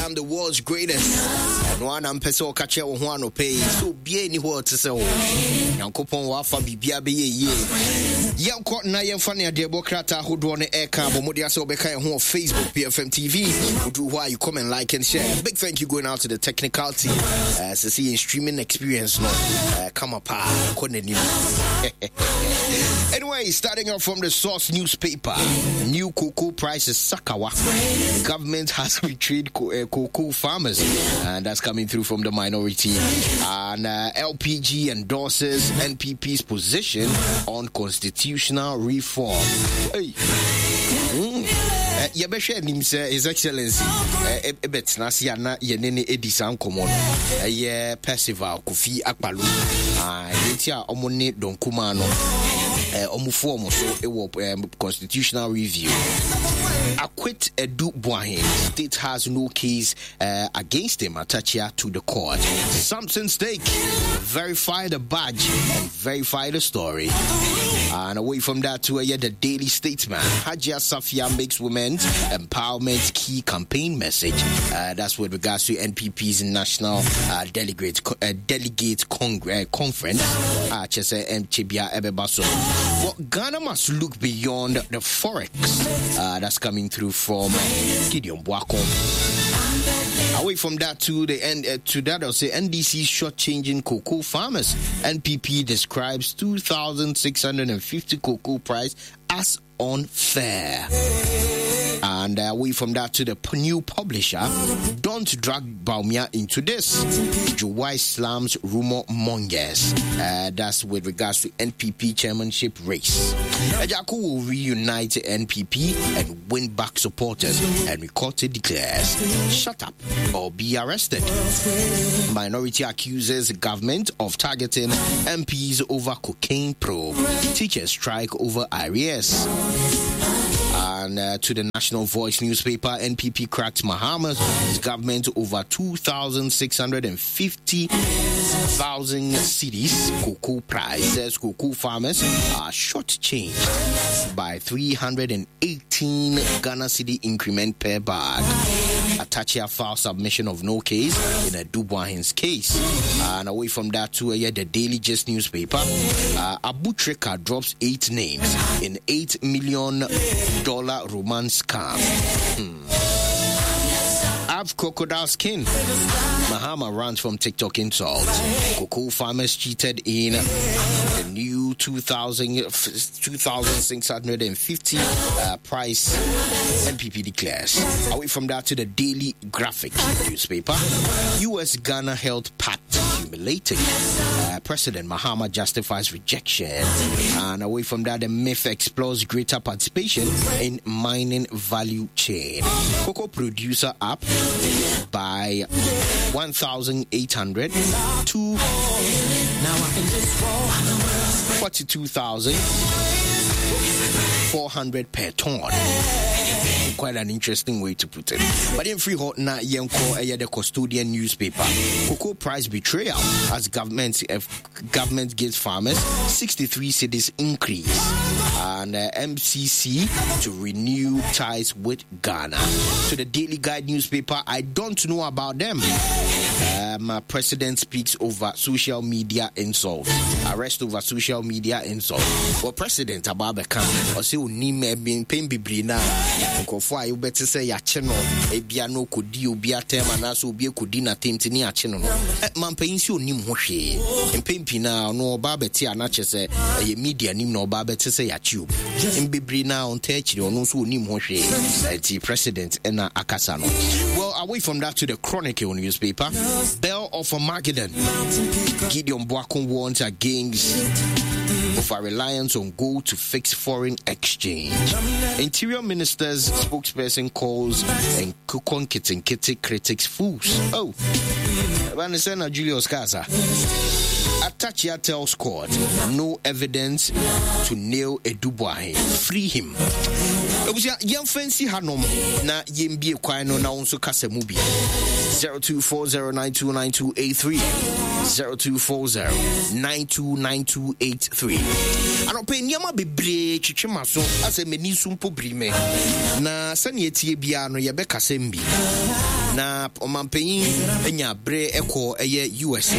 I am the world's greatest. Ɛno ara na mpɛ sɛ ɔka kyerɛ wo ho anɔpɛ yi sɛ obiara nni hɔ a ɔte sɛ wo. Nyankopɔn wafa biribiara bɛyɛ yie. Yɛnkɔ na yɛmfa ne adeɛbɔ krataa ahodoɔ no ɛka abɔ mmɔden asɛ wobɛka yɛn ho wɔ Facebook PFM TV. Woduru hɔ a you come and like and share. Big thank you going out to the technical team. Sɛ sɛ yɛn streaming experience no kama paa kɔ n'anim. Anyway, starting off from the source newspaper, new cocoa prices Sakawa. Government has betrayed cocoa farmers, and that's coming through from the minority. And LPG endorses NPP's position on constitutional reform. Hey. Yɛbɛhwɛ anim sɛ His Excellency ɛbɛtena ase a na yɛne ne ɛdi saa nkɔmmɔ no. Ɛyɛ Percival Kofi Akpalo. Nti a ɔmo ne Don Kumaa no ɔmo fu ɔmo so wɔ constitutional review. Acquit Adu Boahen. State has no case against him. Atta Akyea to the court. Samson Stake. Verify the badge and verify the story. And away from that to the Daily Statesman. Hajia Safia makes women's empowerment key campaign message. That's with regards to NPP's National Delegate Conference. Well, Ghana must look beyond the forex. That's coming through from Gideon Boako. Away from that to the end, to that I'll say NDC shortchanging cocoa farmers. NPP describes 2,650 cocoa price as unfair. And away from that to the new publisher, don't drag Bawumia into this. Juwai slams rumor mongers. That's with regards to NPP chairmanship race. Agyarko will reunite NPP and win back supporters. Henry Quartey declares, shut up or be arrested. Minority accuses government of targeting MPs over cocaine probe. Teachers strike over arrears. And to the National Voice newspaper, NPP cracked Mahama's government over 2,650,000 cedis cocoa price. Says cocoa farmers are shortchanged by 318 Ghana cedi increment per bag. Atta Akyea file submission of no case in Adu Boahen's case. And away from that to the Daily Gist newspaper, Abu Trica drops 8 names in $8 million romance scam. Have crocodile skin. Mahama runs from TikTok insult. Cocoa farmers cheated in the new two thousand, 2,650, price, NPP declares. Away from that to the Daily Graphic newspaper. U.S. Ghana Health Pact humiliating. President Mahama justifies rejection. And away from that, the MIIF explores greater participation in mining value chain. Cocoa producer up by 1,800 to 42,400 per ton. Quite an interesting way to put it. But in free hot na yenko the Custodian newspaper. Cocoa price betrayal as government gives farmers 63 cedis increase, and MCC to renew ties with Ghana. To the Daily Guide newspaper, I don't know about them. President speaks over social media insult. Arrest over social media insult. Well, President Ababeka, or say onim ebin pen bibri na nkrofo a yobete say ya che no ebia no kodi obi atem na so obi kodi na temti ni ache no no. Mampanyin si onim ho hwe. Mpempi na no oba bete ana che se eye media nim na oba bete se ya che obi. Mbibri na on te chiri ono so onim ho hwe. Ti president na akasa no. Well, away from that to the Chronicle newspaper, Bell of Armageddon. Gideon Boako warns against over reliance on gold to fix foreign exchange. Interior Minister's spokesperson calls and Kukon Kitinkiti critics fools. Oh, Vanisena Julius Casa. Atta Akyea tells court no evidence to nail Adu Boahen. Free him. Ebusua, yɛmfa nsi hanom na yɛmbie kwan no na wo nso kasa mu bi. 0240929283 0240929283. Anɔpɛ nneɛma bebree twetwe ma so asɛ m'ani so mpo biri me. Na sɛnea ɛtie biara no yɛbɛkasa bi. Na ɔmampanyin anya bere ɛkɔ ɛyɛ USA.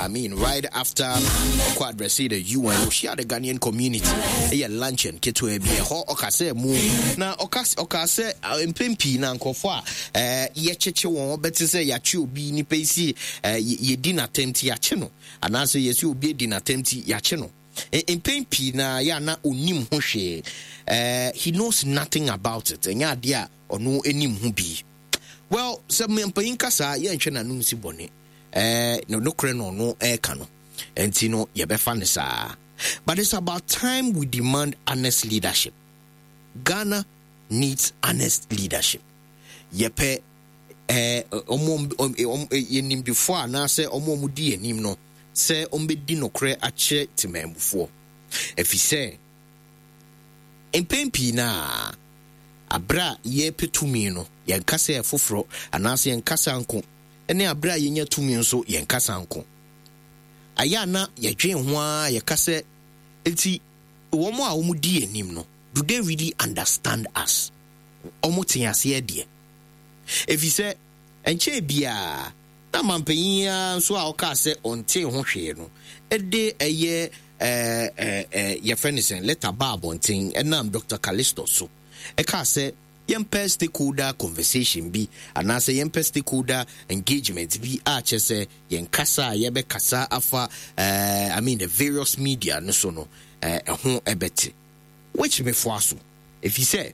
I mean, right after ɔkɔ address the UN, ɔhyia the Ghanaian community. Ɛyɛ luncheon ketewa bi ɛhɔ ɔkasa mu. Na ɔka ɔka sɛ mpɛn pii na nkurɔfoɔ a yɛkyekye wɔn ɔbɛte sɛ yɛakye obi nipa yi si yɛdi n'atɛm ti yɛakye no anaasɛ yɛsi obi adi n'atɛm ti yɛakye no. Mpɛn pii na yɛ a na onim ho hwee. He knows nothing about it. Ɛnyɛ adeɛ a ɔno anim ho bi. Well, sɛ mpanyin ka saa, yɛnhwɛ n'ano nsi bɔne. No nokorɛ na ɔno ɛreka no. Nti no, yɛbɛfa no saa. But it's about time we demand honest leadership. Ghana needs honest leadership. Yɛpɛ ɔmo yɛnimdifoɔ anaasɛ ɔmo ɔmo di anim no sɛ ɔmbɛdi nokorɛ akyerɛ temanmufoɔ. Ɛfiri sɛ, mpɛn pii no a, aberɛ a yɛrepɛ tumi no, yɛn kasa yɛ foforɔ anaasɛ yɛn kasa nko, ne aberɛ a yɛnya tumi nso, yɛn kasa nko. Ayɛ a na yɛdwen ho ara yɛka sɛ, nti wɔn a wɔdi anim no, do they really understand us? Wɔn te aseɛ deɛ. Ɛfiri sɛ, ɛnkyɛɛ biara, na mampanyin yi ara nso a ɔkaa sɛ ɔntee ho hwee no de ɛyɛ ɛɛ yɛfrɛ no sɛn lɛta baa abɔnten ɛnam Dr. Callistus so ɛkaa sɛ yɛmpɛ stakeholder conversation bi anaasɛ yɛmpɛ stakeholder engagement bi a kyerɛ sɛ yɛn kasa a yɛbɛkasa afa I mean the various media no so no ɛho ɛbɛte which mefoa so ɛfiri sɛ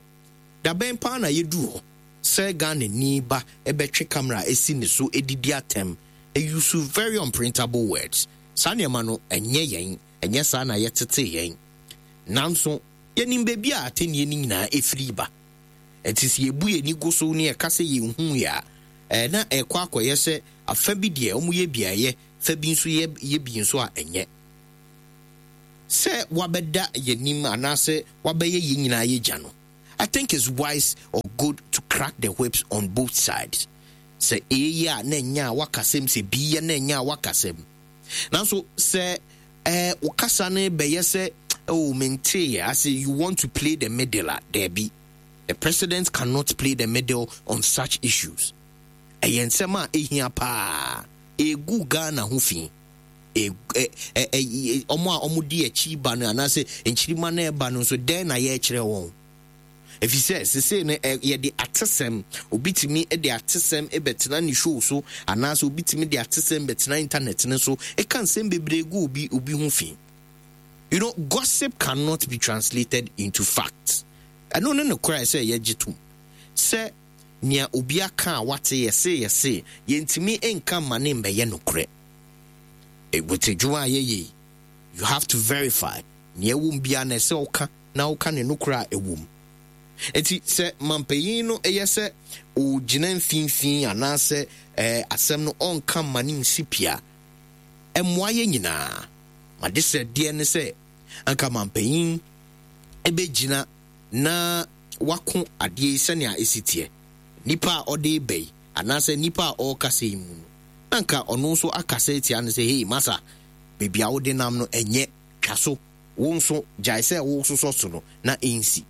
dabɛn paa na yɛduru hɔ sɛ Ghanani ba bɛtwe camera asi ne so didi atɛm, use very unprintable words. Saa nneɛma no, ɛnyɛ yɛn, ɛnyɛ saa na yɛtetee yɛn. Nanso, yɛnim baabi a atɛnnie no nyinaa ɛfiri ba. Ɛnti sɛ yɛbu yɛn ani gu so na yɛka sɛ yɛnhuiɛ a, ɛɛ na ɛrekɔ akɔyɛ sɛ afa bi deɛ wɔyɛ bi a ɛyɛ, fa bi nso yɛ yɛ bi nso a ɛnyɛ. Sɛ wabɛda yɛn anim anaasɛ wabɛyɛ yɛn nyinaa yɛ gya no, I think it's wise or good to crack the whips on both sides. Sɛ A yɛ a na ɛnyɛ a wakasɛm, sɛ B yɛ na ɛnyɛ a wakasɛm. Nanso sɛ eh, wo kasa no bɛyɛ sɛ oh menteeɛ ase you want to play the middle a, daabi. The president cannot play the middle on such issues. Ɛyɛ nsɛm a ɛhia paa. Ɛgu Ghana ho fi. Wɔn a wɔdi akyi ba no anaasɛ nkyirima no ɛba no nso dɛn na yɛrekyerɛ wɔn? Ɛfiri sɛ sesei no yɛde atesɛm, obi tumi de atesɛm bɛtena ne show so anaasɛ obi tumi de atesɛm bɛtena internet no so ɛka nsɛm bebree gu obi obi ho fi. You know, gossip cannot be translated into facts. Ɛno ne nokorɛ sɛ yɛgye tom sɛ nea obi aka a wate yɛse yɛse yɛntumi nka mma ne mbɛyɛ nokorɛ. With adwuma a yɛyɛ yi, you have to verify nea ɛwɔ mu biara na ɛsɛ ɔka na woka ne nokorɛ a ɛwɔ mu. Enti sɛ mampanyin no yɛ sɛ ɔgyina mfimfini anaasɛ ɛɛ asɛm no ɔnka mma ne nsi pi a, ɛmmoa yɛn nyinaa. M'adesrɛdeɛ ne sɛ anka mampanyin bɛgyina na wako adeɛ yi sɛnea ɛsi teɛ. Nipa a ɔde reba yi anaasɛ nipa a ɔrekasa yi mu no, na anka ɔno nso akasa atia no sɛ, hei masa, baabi a wode nam no ɛnyɛ, twa so. Wo nso, gyae sɛ woresosɔ so no na ensi.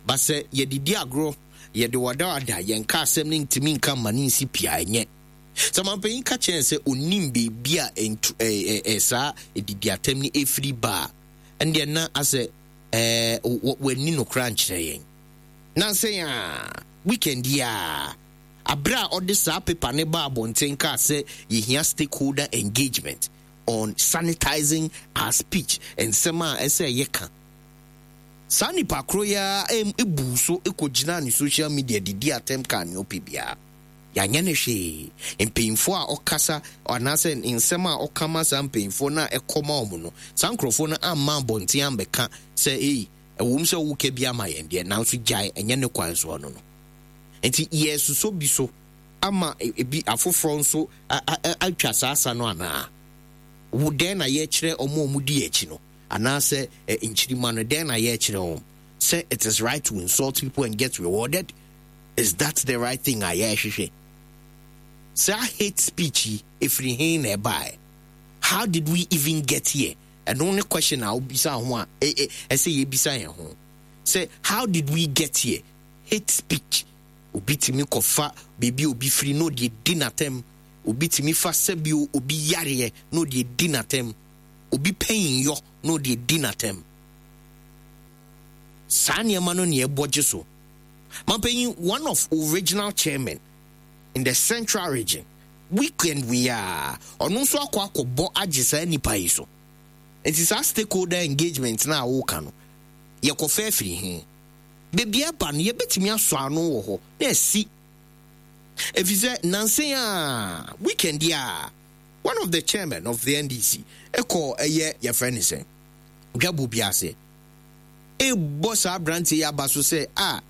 But sɛ yɛde di agorɔ, yɛde wadawada, yɛnka asɛm no ntumi nka mma no nsi pi a, ɛnyɛ. Sɛ mampanyin ka kyerɛ yɛn sɛ onnim baabi a ntu ɛɛ ɛɛ saa adidiatɛm no efiri ba a, ɛndeɛ na asɛ ɛɛ wanni nokorɛ ankyerɛ yɛn. Nansa yi ara, weekend yi ara, abere a ɔde saa paper no baa abɔnten kaa sɛ yɛhia stakeholder engagement, on sanitizing our speech, nsɛm a ɛsɛ yɛka. Saa nipa koro yi ara buu so kɔgyinaa ne social media didi atɛm kaa nea ɔpɛ biara. Yɛanyɛ no hwee. Mpanyinfoɔ a ɔkasa anaasɛ nsɛm a ɔka ma saa mpanyinfoɔ no a ɛkɔ ma wɔn no, saa nkurɔfoɔ no amma abɔnten ambɛka sɛ ei, ɛwom sɛ woka bi ama yɛn deɛ, nanso gyae, ɛnyɛ ne kwan soɔ no no. Nti yɛresosɔ bi so ama ebi afoforɔ nso atwa saa asa no anaa? Wo dɛn na yɛkyerɛ wɔn a wɔdi akyi no anaasɛ nkyirima no dɛn na yɛkyerɛ wɔn? Sɛ it is right to insult people and get rewarded? Is that the right thing a yɛrehwehwɛ? Saa hate speech yi ɛfiri he na ɛbaeɛ? How did we even get here? Ɛno ne question a wobisa ho a ɛsɛ yɛbisa yɛn ho sɛ how did we get here? Hate speech. Obi tumi kɔfa beebi obi firi na ɔde di n'atɛm. Obi tumi fa sɛbio obi yareɛ na ɔde di n'atɛm. Obi pɛn yɔ na ɔde di n'atɛm. Saa nneɛma no ne ɛbɔ gye so. Mampanyin, one of original chairman in the Central Region, weekend wei a ɔno nso akɔ akɔbɔ agye saa nipa yi so. Nti saa stakeholder engagement na a wɔreka no, yɛkɔfa afiri he? Beebi aba no, yɛbɛtumi asɔ ano wɔ hɔ na asi, ɛfiri sɛ nansen a weekend yi a one of the chairman of the NDC ɛkɔ ɛyɛ yɛfrɛ ne sɛ dwabo bi ase ɛbɔ saa aberanteɛ yi aba so sɛ a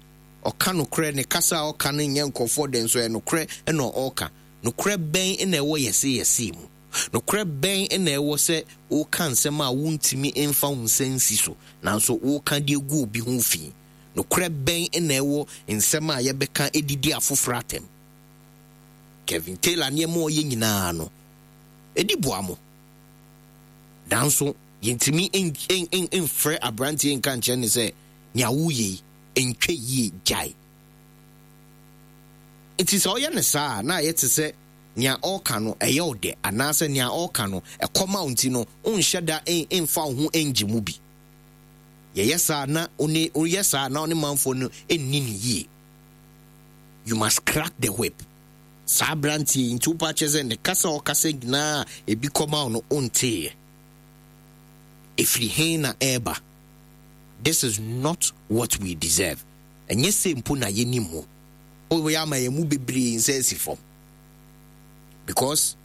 ɔka nokorɛ, ne kasa a ɔka no nyɛ nkɔfoɔ dɛn so, ɛyɛ nokorɛ ɛna ɔreka. Nokorɛ bɛn na ɛwɔ yɛse yɛse mu? Nokorɛ bɛn na ɛwɔ sɛ woka nsɛm a wontumi mfa wo nsa nsi so nanso woka de agu obi ho fi? Nokorɛ bɛn na ɛwɔ nsɛm a yɛbɛka edidi afoforɔ atɛm? Kevin Taylor, nneɛma a ɔyɛ nyinaa no ɛdi boa mo, nanso yɛntumi mfrɛ aberanteɛ nka nkyerɛ ne sɛ nea woyɛ yi ntwa yie, gyae. Nti sɛ ɔyɛ no saa a, na ayɛ te sɛ nea ɔreka no ɛyɛ wo dɛ anaasɛ nea ɔreka no ɛkɔma wo, nti no wonhyɛ da mfa wo ho ngye mu bi. Yɛyɛ saa na one woyɛ saa na ɔne manfoɔ no nni ne yie. You must crack the whip saa aberanteɛ yi. Nti wopa kyerɛ sɛ ne kasa a ɔkasa nyinaa ebi kɔma wo no, wonteeɛ? Ɛfiri he na ɛreba? This is not what we deserve. Ɛnyɛ sɛ mpo na yɛnim wo woyɛ ama yɛn mu bebree nsa asi fam, because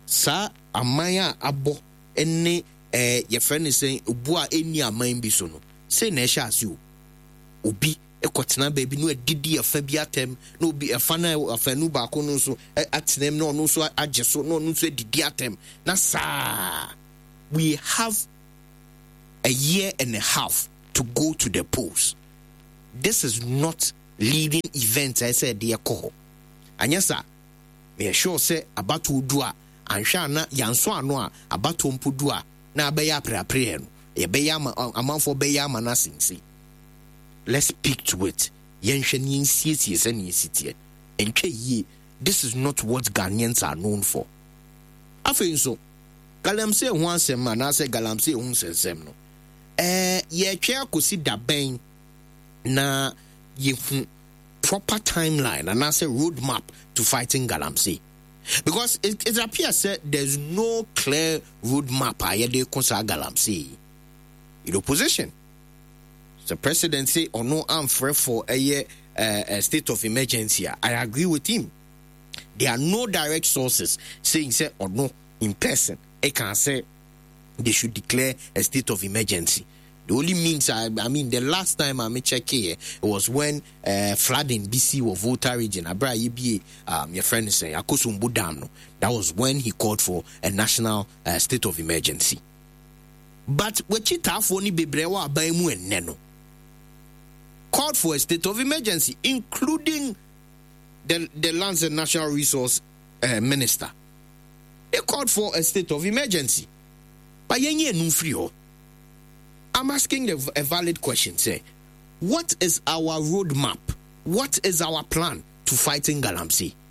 saa aman a abɔ ne yɛfrɛ no sɛn, obu a ɛnni aman bi so no, sei na ɛhyɛ ase o. Obi kɔtena baabi na adidi ɛfa bi atɛm, na obi ɛfa no afanu baako no nso atena mu na ɔno nso agye so na ɔno nso adidi atɛm na saa. We have a year and a half to go to the polls. This is not leading event a ɛsɛ ɛde ɛkɔ hɔ. Anyɛ saa, meyɛ sure sɛ abatoɔ du a, anhwɛ a na yɛanso ano a, abatoɔ mpo du a, na abɛyɛ apreapreɛ no, yɛbɛyɛ ama amanfoɔ bɛyɛ ama no asense. Let's speak to it. Yɛnhwɛ ne yɛnsiesie sɛnea ɛsi teɛ. Ɛntwa yie. This is not what Ghanaians are known for. Afei nso, galamsey ho asɛm anaasɛ galamsey ho nsɛnsɛm no, yɛtwɛn akɔsi da bɛn na yɛhu proper timeline anaasɛ road map to fighting galamsey? Because it appears sɛ there's no clear road map a yɛde ko saa galamsey yi. In opposition, the president say ɔno amfrɛ for ɛyɛ state of emergency a, I agree with him. There are no direct sources saying sɛ ɔno in person ɛka sɛ they should declare a state of emergency. The only means I mean, the last time I check here, it was when flooding BC wɔ Volta Region. Abra yebie your friend say Akosombo Dam no. That was when he called for a national state of emergency. But w'akyitaafoɔ ni bebree wɔ aban mu ɛnnɛ no called for a state of emergency, including the Lands and Natural Resource Minister. They called for a state of emergency. But yɛn yɛ num firi hɔ. I'm asking a valid question. Say, what is our roadmap? What is our plan to fighting galamsey?